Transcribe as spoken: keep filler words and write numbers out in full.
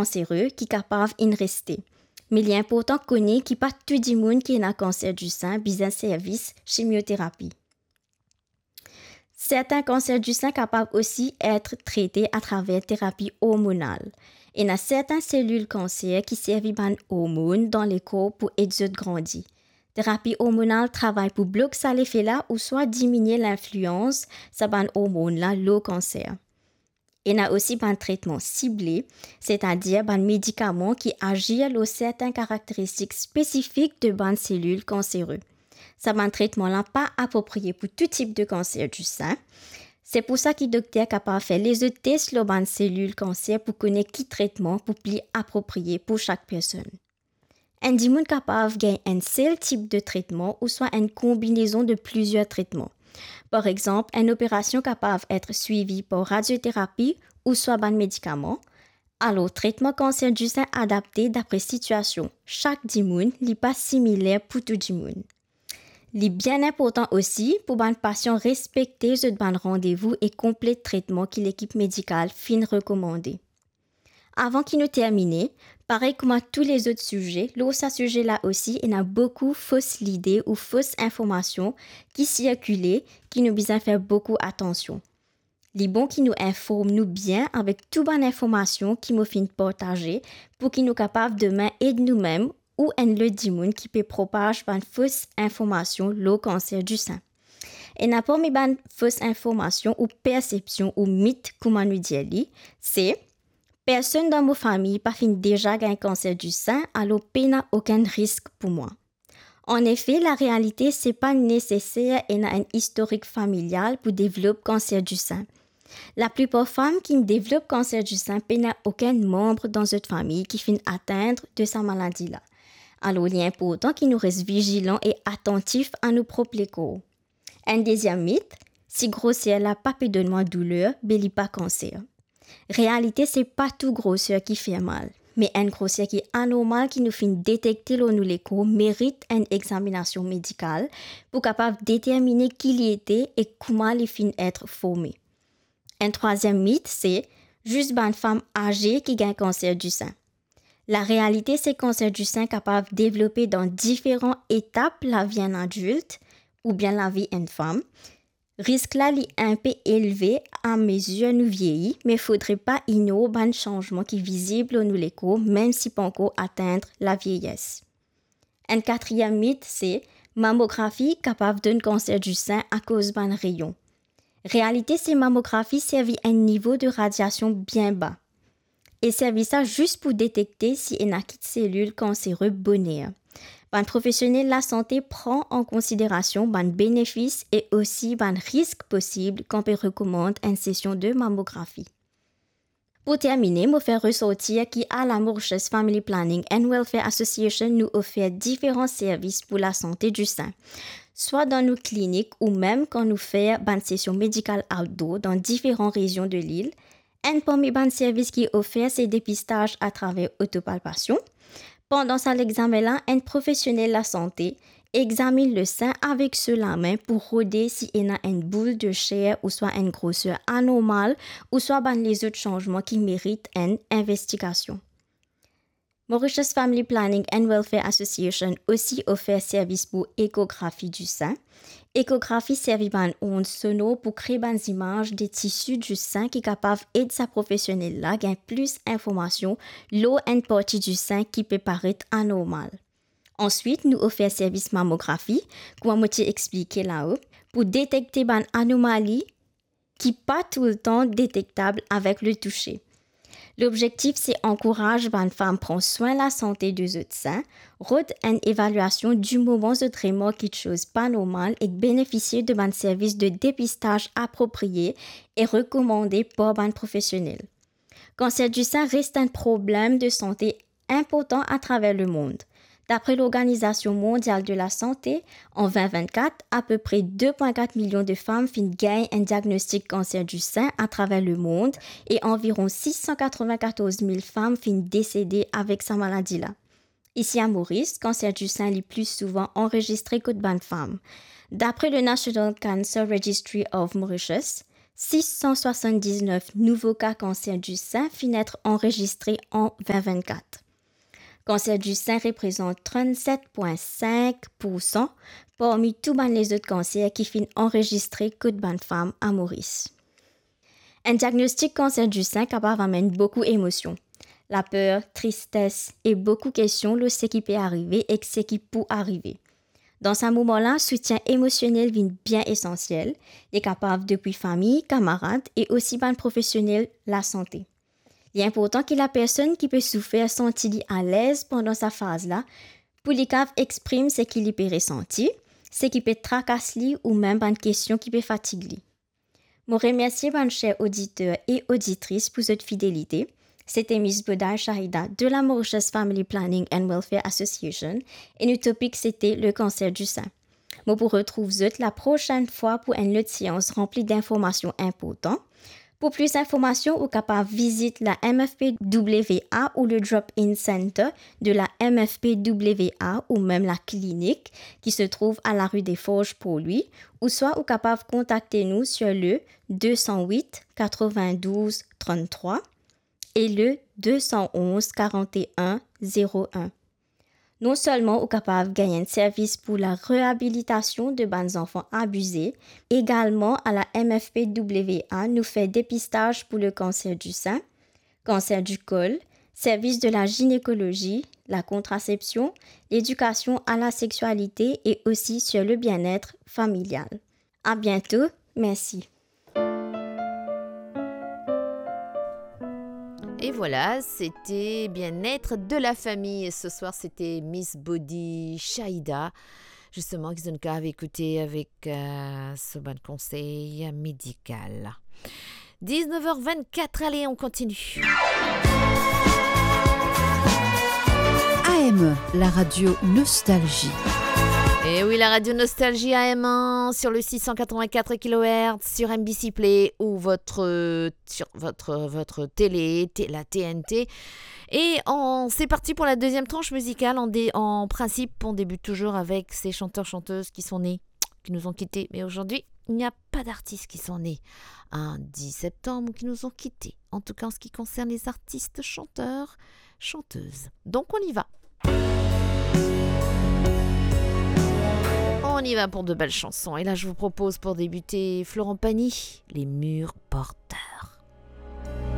kansere ki kapav inn reste. Me li inportan kone ki pa tou dimoun ki ena kanser disin bizin servis chimioterapi. Sertin kanser disin kapav osi et trete atraver terapi ormonal. Ena sertin selil kanser ki servi bann ormonn dan lekor pou ed zot grandi. Terapi ormonal travay pou blok sa lefe la ouswa diminie linflians sa bann ormonn la lor kanser. Ena osi bann tretman sible, setadir bann medikaman ki azir lor sertin karakteristik spesifik de bann selil kansere. Sa bann tretman la pa apropriye pou tou tip de kanser disin. Se pou sa ki dokter kapav fer lezot tes lor bann selil kanser pou kone ki tretman pou pli apropriye pou sak personn. Enn dimoun kapav gagn enn sel tip de tretman ouswa enn konbinezon de plizier tretman. Par exanp, enn operasion kapav et swivi par radioterapi ouswa bann medikaman. Alor, tretman kanser disin adapte dapre sitiasion sak dimoun, li pa similer pou tou dimoun. Li bien inportan osi pou bann pasian respekte zot bann randevou e konplet tretman ki lekip medikal finn rekomande. Avan ki nou termine, parey kouma tou lezot size, lor sa size la osi ena boukou fos lide ou fos informasion ki sirkile, ki nou bizin fer boukou atansion. Li bon ki nou inform nou bien avek tou bann informasion ki mo finn partaze, pou ki nou kapav demin ed noumem ou enn lot dimoun ki pe propaz bann fos informasion lor kanser disin. Ena parmi bann fos informasion ou persepsion ou mit, kouma nou dir li, se, personn dan mo fami pa finn deza gagn kanser disin, alor pena okenn risk pou mwa. Anefe, larealite, se pa neseser ena enn istorik familial pou devlop kanser disin. Laplipar fam ki devlop kanser disin pena okenn manb dan zot fami ki finn atenn de sa maladi la. Alor, li inportan ki nou res vizilan e atantif a nou prop lekor. Enn deziem mit, si groser la pa pe donn mwa douler, be li pa kanser. Realite, se pa tou groser ki fer mal, me enn groser ki anormal ki nou finn detekte lor nou lekor merit enn examinasion medikal pou kapav determine ki li ete e kouma li finn et forme. Enn trwaziem mit, se zis bann fam aze ki gagn kanser disin. Larealite, se kanser disin kapav devlope dan diferan etap lavi enn adilt oubien lavi enn fam. Risk la, li inpe elve amezir nou vieyi, me fodre pa ignor bann sanzman ki vizib lor nou lekor, mem si pa ankor atenn lavieyes. Enn katriem mit, se mamografi kapav donn kanser disin akoz bann reyon. Realite, se mamografi servi enn nivo de radiasion bien ba. E servi sa zis pou detekte si ena kit selil kansere boner. Bann profesionel lasante pran an konsiderasion bann benefis e osi bann risk posib kan pe rekomand enn sesion de mamografi. Pou termine, mo fer resorti ki a la Mauritius Family Planning and Welfare Association, nou ofer diferan servis pou lasante disin, swa dan nou klinik ou mem kan nou fer bann sesion medikal outdoor dan diferan rezion de lil. Enn parmi bann servis ki ofer se depistaz atraver otopalpasion. Pandan sa lexamen la, enn profesionel lasante examinn le sin avek so lame pou rode si ena enn boul de ser ouswa enn groser anormal, ouswa bann lezot sanzman ki merit enn investigasion. Mauritius Family Planning and Welfare Association osi ofer servis pou ekografi disin. Ekografi servi bann ond sonor pou kree bann zimaz de tisi disin ki kapav ed sa profesionel la gagn plis informasion lor enn parti disin ki pe paret anormal. Answit, nou ofer servis mamografi, kouma mo ti explike lao, pou detekte bann anomali ki pa toultan detektab avek le touse. Lobzektif se ankouraz bann fam pran swin lasante de zot sin, rod enn evaliasion di moman zot remark kiksoz pa normal ek benefisie de bann servis de depistaz apropriye e rekomande par bann profesionel. Kanser disin res enn problem de sante inportan atraver lemond. Dapre Lorganizasion Mondial de Lasante, an vin vinn-kat, apepre de pwin kat milion de fam finn gagn enn diagnostik kanser disin atraver lemond e anviron sis san katrovin-katorz mil fam finn desede avek sa maladi la. Isi a Moris, kanser disin li pli souvan anrezistre kot bann fam. Dapre le National Cancer Registry of Mauritius, sis san swasann-diznef nouvo ka kanser di sin finn et anrezistre an vin vinn-kat. Kanser di sin reprezant trannset pwin sink pou san parmi tou bann lezot kanser ki finn anrezistre kot bann fam a Moris. Enn diagnostik kanser di sin kapav amenn boukou emosion, laper, tristes e boukou kestion lor seki pe arive ek seki pou arive. Dan sa moman la, soutien emosionel vinn bien esansiel. Li kapav depi fami, kamarad e osi bann profesionel lasante. Li inportan ki lapersonn ki pe soufer santi li alez pandan sa faz la, pou li kav exprim seki li pe resanti, seki pe trakas li ou mem bann kestion ki pe fatig li. Mo remersie bann ser oditer e oditris pou zot fidelite. Sete Miss Boday Shahida de la Mauritius Family Planning and Welfare Association e nou topik sete le kanser di sin. Mo pou retrouv zot la prosenn fwa pou enn lot seans ranpli dinformasion inportan. Pou plis informasion, ou kapav vizit la M F P W A ou le Drop-in Center de la M F P W A ou mem la klinik ki se trouv a la rue des Forges, Port-Louis, ouswa ou kapav kontakte nou sur le deux cent huit quatre-vingt-douze trente-trois et le deux cent onze quarante et un zéro un. Non selman ou kapav gagn enn servis pou la reabilitasion de bann zanfan abize, egalman a la M F P W A nou fer depistaz pou le kanser di sin, kanser di kol, servis de la zinekolozi, la kontrasepsion, ledikasion a la sexualité et aussi sur le bien-être familial. À bientôt, merci. Et voilà, c'était Bien-être de la famille. Et ce soir, c'était Miss Boday Shahida, justement, ki zot kav ekoute avek, euh, so bann konsey medikal. Dix-neuf heures vingt-quatre, allez, on continue. A M E, la radio Nostalgie. Et oui, la radio Nostalgie A M un sur le six cent quatre-vingt-quatre kilohertz, sur M B C Play ou votre, euh, sur votre, votre télé, t-, la T N T. Et on, c'est parti pour la deuxième tranche musicale. En dé-, en principe, on débute toujours avec ces chanteurs, chanteuses qui sont nés, qui nous ont quittés. Mais aujourd'hui, il n'y a pas d'artistes qui sont nés un dix septembre ou qui nous ont quittés. En tout cas, en ce qui concerne les artistes, chanteurs, chanteuses. Donc, on y va. On y va pour de belles chansons. Et là, je vous propose pour débuter Florent Pagny, Les murs porteurs.